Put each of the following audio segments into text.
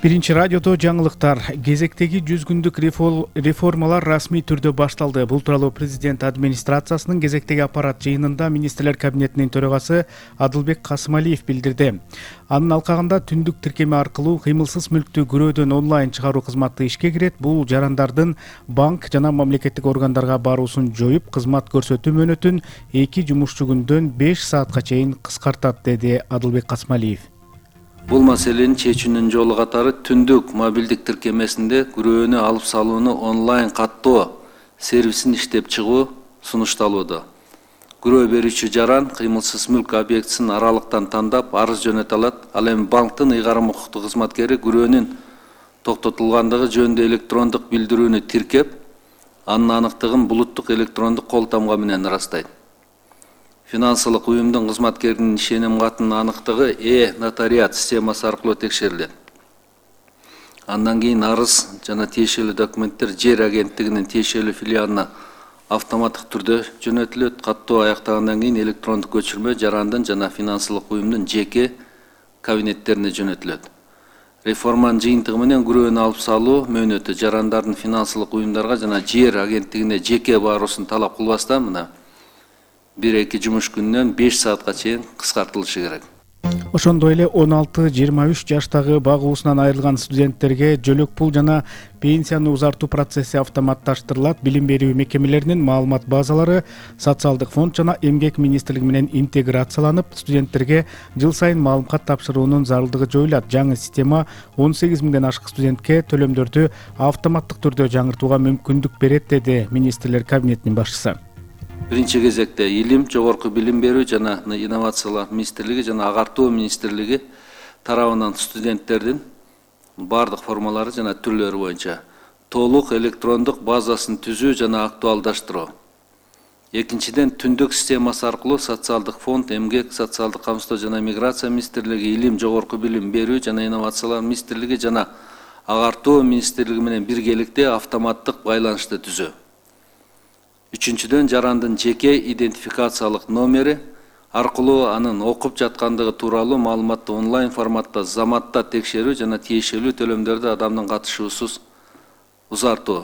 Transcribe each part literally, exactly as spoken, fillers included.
Биринчи радиодо жаңылыктар. Кезектеги жүз күндүк реформалар расмий түрдө башталды. Бул тууралуу президент администрациясынын кезектеги аппарат жыйынында министрлер кабинетинин төрагасы Адылбек Касымалиев билдирди. Анын алкагында түндүк тиркеме аркылуу кыймылсыз мүлктү күрөөдөн онлайн чыгаруу кызматы ишке кирет. Бул жарандардын банк жана мамлекеттик органдарга баруусун жоюп, кызмат көрсөтүү мөөнөтүн эки жумушчу күндөн беш саатка чейин кыскартат, деди Адылбек Касымалиев. Бул маселенин чечүүнүн жолу катары түндүк мобилдик тиркемесинде күрөөнү алып салууну онлайн каттоо сервисин иштеп чыгуу сунушталууда. Күрөө берүүчү жаран кыймылсыз мүлк объектисин аралыктан тандап арыз жөнөтө алат. Ал эми банктын ыйгарым укуктуу кызматкери күрөөнүн токтотулгандыгы жөнүндө электрондук билдирүүнү тиркеп, анын аныктыгын булуттук электрондук кол тамга менен ырастайт. Финансылык уюмдун кызматкеринин ишеним катынын аныктыгы э-нотариат системасы аркылуу текшерилет. Андан кийин арыз жана тиешелүү документтер жер агенттигинин тиешелүү филиалына автоматтык түрдө жөнөтүлөт. Каттоо аяктагандан кийин электрондук көчүрмө жарандын жана финансылык уюмдун жеке кабинеттерине жөнөтүлөт. Реформанын жыйынтыгы менен күрөөнү алып салуу мөөнөтү жарандардын финансылык уюмдарга жана жер агенттигине жеке баруусун талап кылбастан мына бир-эки жумуш күнүнөн беш саатка чейин кыскартылышы керек. Ошондой эле он алты жыйырма үч жаштагы багуусунан айрылган студенттерге жөлөк пул жана пенсияны узартуу процесси автоматташтырылат. Билим берүү мекемелеринин маалымат базалары социалдык фонд жана эмгек министрлиги менен интеграцияланып, студенттерге жыл сайын маалымат тапшыруунун зарылдыгы жоюлат. Жаңы система он сегиз миңден ашык студентке төлөмдөрдү автоматтык түрдө жаңыртууга мүмкүндүк берет, деди министрлер кабинетинин башчысы. Биринчи кезекте илим, жогорку билим берүү жана инновациялар министрлиги жана агартуу министрлиги тарабынан студенттердин бардык формалары жана түрлөрү боюнча толук электрондук базасын түзүү жана актуалдаштыруу. Экинчиден, түндүк системасы аркылуу социалдык фонд, эмгек, социалдык камсыздоо жана миграция министрлиги, илим, жогорку билим берүү жана инновациялар министрлиги жана агартуу министрлиги менен биргеликте автоматтык байланышты түзүү. Үчүнчүдөн, жарандын жеке идентификациялык номери аркылуу анын окуп жаткандыгы тууралуу маалыматты онлайн форматта заматта текшерүү жана тиешелүү төлөмдөрдү адамдын катышуусуз узартуу.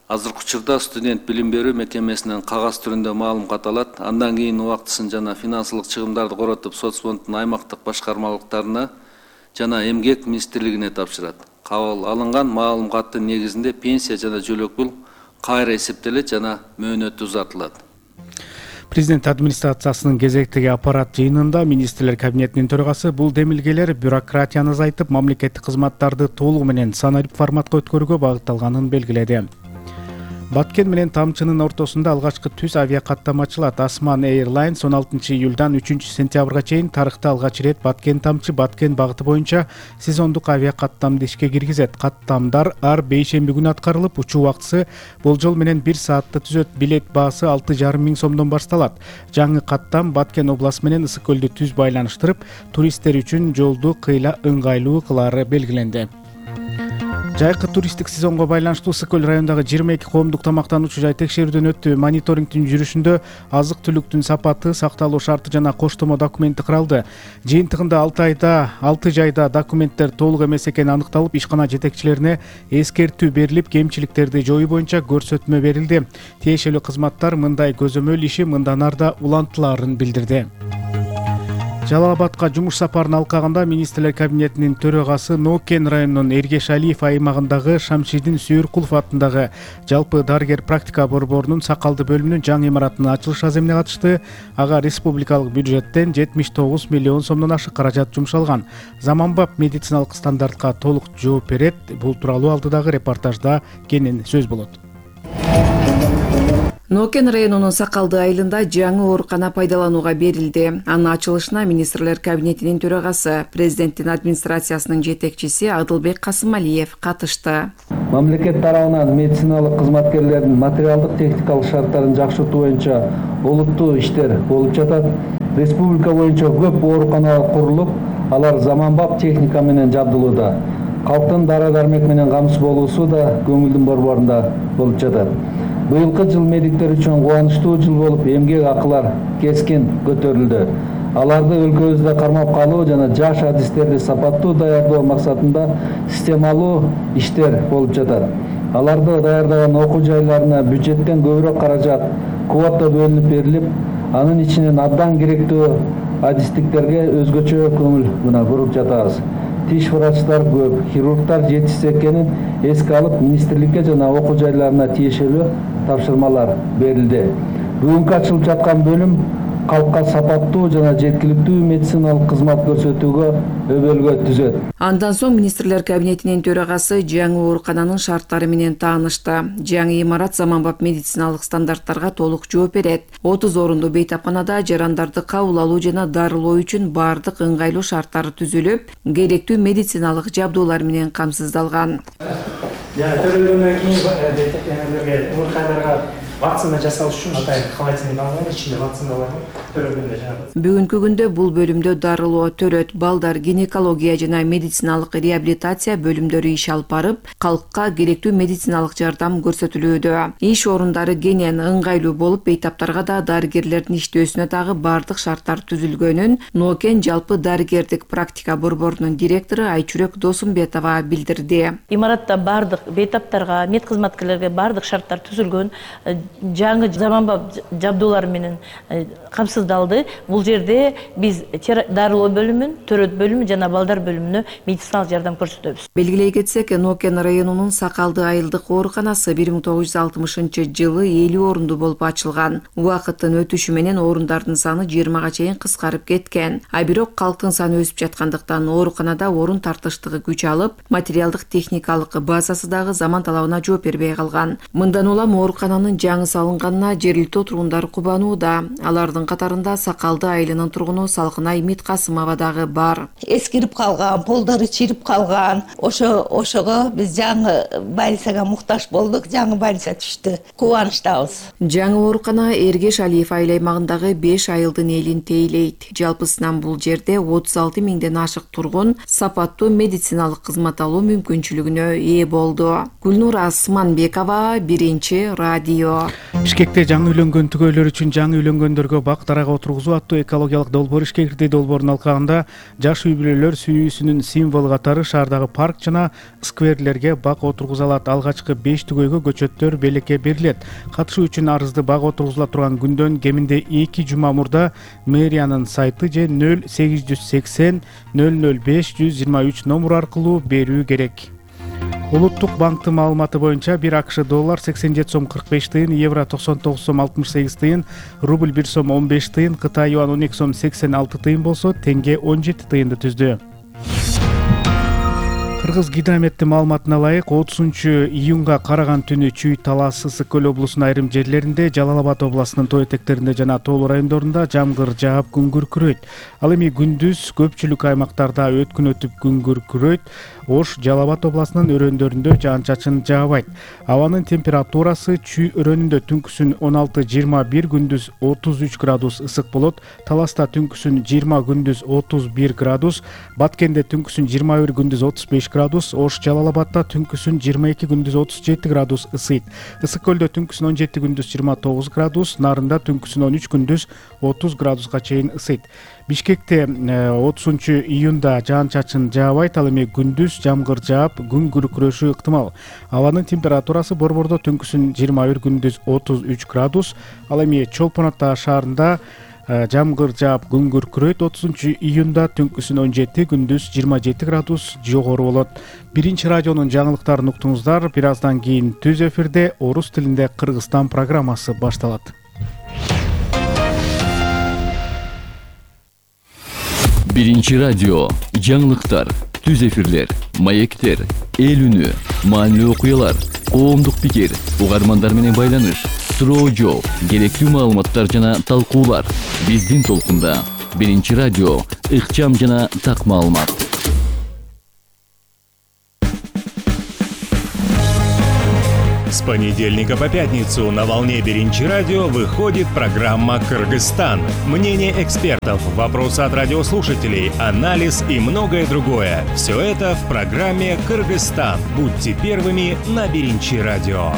Азыркы учурда студент билим берүү мекемесинен кагаз түрүндө маалымат алат. Андан кийин убактысын жана финансылык чыгымдарды коротуп, соцфонддун аймактык башкармалыктарына жана эмгек министрлигине тапшырат. Кабыл алынган маалыматтын негизинде пенсия жана жөлөк пул кайра эсептелет жана мөөнөтү узартылат. Президент администрациясынын кезектеги аппарат жыйынында министрлер кабинетинин төрагасы бул демилгелер бюрократияны азайтып, мамлекеттик кызматтарды толугу менен санарип форматка өткөрүүгө багытталганын белгиледи. Баткен менен Тамчынын ортосунда алгачкы түз авиакаттам ачылат. Асман Airlines он алтынчы июлдан үчүнчү сентябрга чейин тарыхта алгач ирет Баткен Тамчы Баткен багыты боюнча сезондук авиакаттамды ишке киргизет. Каттамдар ар бейшемби күнү аткарылып, учуу убактысы болжол менен бир саатты түзөт. Билет баасы алты жарым миң сомдон башталат. Жаңы каттам Баткен областы менен Ысык көлдү түз байланыштырып, туристтер үчүн жолду кыйла ыңгайлуу кылары белгиленди. Жайкы туристтик сезонго байланыштуу Ысык көл районундагы жыйырма эки коомдук тамактануучу жай текшерүүдөн өттү. Мониторингдин жүрүшүндө азык-түлүктүн сапаты, сакталуу шарты жана коштомо документи каралды. Жыйынтыгында алты айда алты жайда документтер толук эмес экени аныкталып, ишкана жетекчилерине эскертүү берилип, кемчиликтерди жоюу боюнча көрсөтмө берилди. Тиешелүү кызматтар мындай көзөмөл иши мындан арда улантылаарын билдирди. Жалал Абадка жумуш сапарын алкагында министрлер кабинетинин төрагасы Нокен районунун Эргеш Алиев аймагындагы Шамшидин Сүйүркулов атындагы жалпы дарыгер практика борборунун сакалды бөлүмүнүн жаңы имаратынын ачылыш аземине катышты. Ага республикалык бюджеттен жетимиш тогуз миллион сомдон ашык каражат жумшалган. Заманбап медициналык стандартка толук жооп берет. Бул тууралуу алдыдагы репортажда кенен сөз болот. Нокен районунун Сакалды айылында жаңы оорукана пайдаланууга берилди. Анын ачылышына министрлер кабинетинин төрагасы, президенттин администрациясынын жетекчиси Адылбек Касымалиев катышты. Мамлекет тарабынан медициналык кызматкерлердин материалдык техникалык шарттарын жакшыртуу боюнча олуттуу иштер болуп жатат. Республика боюнча көп ооруканалар курулуп, алар заманбап техника менен жабдылууда. Калктын дары-дармек менен камсыз болуусу да көңүлдүн борборунда болуп жатат. Быйылкы жыл медиктер үчүн кубанычтуу жыл болуп, эмгек акылар кескин көтөрүлдү. аларды өлкөбүздө кармап калуу жана жаш адистерди сапаттуу даярдоо максатында системалуу иштер болуп жатат. Аларды даярдаган окуу жайларына бюджеттен көбүрөөк каражат квота бөлүнүп берилип, анын ичинен абдан керектүү адистиктерге өзгөчө көңүл мына буруп жатабыз. Тиш врачтар көп, хирургдар жетишсиз экенин эске алып, министрликке жана окуу жайларына тиешелүү тапшырмалар берилди. Бүгүнкү ачылып жаткан бөлүм калкка сапаттуу жана жеткиликтүү медициналык кызмат көрсөтүүгө өбөлгө түзөт. Андан соң министрлер кабинетинин төрагасы жаңы оорукананын шарттары менен таанышты. Жаңы имарат заманбап медициналык стандарттарга толук жооп берет. отуз орунду бейтапканада жарандарды кабыл алуу жана дарылоо үчүн баардык ыңгайлуу шарттар түзүлүп, керектүү медициналык жабдуулар менен камсыздалган. Төрөлгөндөн кийин ооруканаларга вакцина жасау үчүн атайын холодильник алган, ичинде вакцина бар. Төрөлгөндө жанагы. Бүгүнкү күндө бул бөлүмдө дарылоо, төрөт, балдар, гинекология жана медициналык реабилитация бөлүмдөрү иш алып барып, калкка керектүү медициналык жардам көрсөтүлүүдө. Иш орундары кенен, ыңгайлуу болуп, бейтаптарга да дарыгерлердин иштөөсүнө дагы баардык шарттар түзүлгөнүн Нокен жалпы дарыгердик практика борборунун директору Айчүрөк Досумбетова билдирди. Имаратта баардык бейтаптарга, мед кызматкерлерге баардык шарттар түзүлгөн, жаңы заманбап жабдуулар менен камсыздалды. Бул жерде биз дарылоо бөлүмүн, төрөт бөлүмүн жана балдар бөлүмүнө медициналык жардам көрсөтөбүз. Белгилей кетсек, Нокен районунун Сакалды айылдык ооруканасы бир миң тогуз жүз алтымышынчы жылы элүү орунду болуп ачылган. Убакыттын өтүшү менен орундардын саны жыйырмага чейин кыскарып кеткен. А бирок калктын саны өсүп жаткандыктан ооруканада орун тартыштыгы күч алып, материалдык техникалык базасы дагы заман талабына жооп бербей калган. Мындан улам оорукананын жаңы салынганына жергиликтүү тургундар кубанууда. Алардын катарында Сакалды айылынын тургуну Салкынай Миткасымова дагы бар. Эскирип калган, полдору чирип калган. Ошо ошого биз жаңы больницага муктаж болдук, жаңы больница түштү. Кубанычтабыз. Жаңы оорукана Эргеш Алиев айыл аймагындагы беш айылдын элин тейлейт. Жалпысынан бул жерде отуз алты миңден ашык тургун сапаттуу медициналык кызмат алуу мүмкүнчүлүгүнө ээ болду. Гүлнур Асманбекова, Биринчи радио. Бишкекте жаңы үйлөнгөн түгөйлөр үчүн жаңы үйлөнгөндөргө бак дарага отургузуу аттуу экологиялык долбоор ишке кирди. Долбоордун алкагында жаш үй бүлөлөр сүйүүсүнүн символу катары шаардагы парк жана скверлерге бак отургуза алат. Алгачкы беш түгөйгө көчөттөр белекке берилет. Катышуу үчүн арызды бак отургузула турган күндөн кеминде эки жума мурда мэриянын сайты же нөл сегиз жүз сексен нөл нөл беш жүз жыйырма үч номуру аркылуу берүү керек. Улуттук банктын маалыматы боюнча бир АКШ доллар сексен жети сом кырк беш тыйын, евро токсон тогуз сом алтымыш сегиз тыйын, рубль бир сом он беш тыйын, Кытай юан он эки сом сексен алты тыйын болсо, теңге он жети тыйынды түздү. Кыргыз гидрометтин маалыматына ылайык, отузунчу июнга караган түнү Чүй, Талас, Ысык көл облусунун айрым жерлеринде, Жалал Абад областынын тоо этектеринде жана тоолуу райондорунда жамгыр жаап күн күркүрөйт. Ал эми күндүз көпчүлүк аймактарда өткүн өтүп күн күркүрөйт. Ош, Жалал Абад областынын өрөөндөрүндө жаан-чачын жаабайт. Абанын температурасы Чүй өрөөнүндө түнкүсүн он алты жыйырма бир, күндүз отуз үч градус ысык болот. Таласта түнкүсүн жыйырма, күндүз отуз бир градус, Баткенде түнкүсүн жыйырма бир, күндүз отуз беш градус, Ош, Жалал Абадта түнкүсүн жыйырма эки, күндүз отуз жети градус ысыйт. Ысык көлдө түнкүсүн он жети, күндүз жыйырма тогуз градус, Нарында түнкүсүн он үч, күндүз отуз градуска чейин ысыйт. Бишкекте отузунчу июнда жаан-чачын жаабайт, ал эми күндүз жамгыр жаап, күн күркүрөшү ыктымал. Абанын температурасы Борбордо түнкүсүн жыйырма бир, күндүз отуз үч градус, ал эми Чолпон Ата шаарында жамгыр жаап, күн күркүрөйт. отузунчу июнда түнкүсүн он жети, күндүз жыйырма жети градус жогору болот. Биринчи радионун жаңылыктарын уктуңуздар. Бир аздан кийин түз эфирде орус тилинде Кыргызстан программасы башталат. Биринчи радио, жаңылыктар, түз эфирлер, маектер, эл үнү, маанилүү окуялар, коомдук пикир, угармандар менен байланыш, суроо жооп, керектүү маалыматтар жана талкуулар. Биздин толкунда Биринчи радио, ыкчам жана так маалымат. С понедельника по пятницу на волне Биринчи радио выходит программа «Кыргызстан». Мнение экспертов, вопросы от радиослушателей, анализ и многое другое. Все это в программе «Кыргызстан». Будьте первыми на Биринчи радио.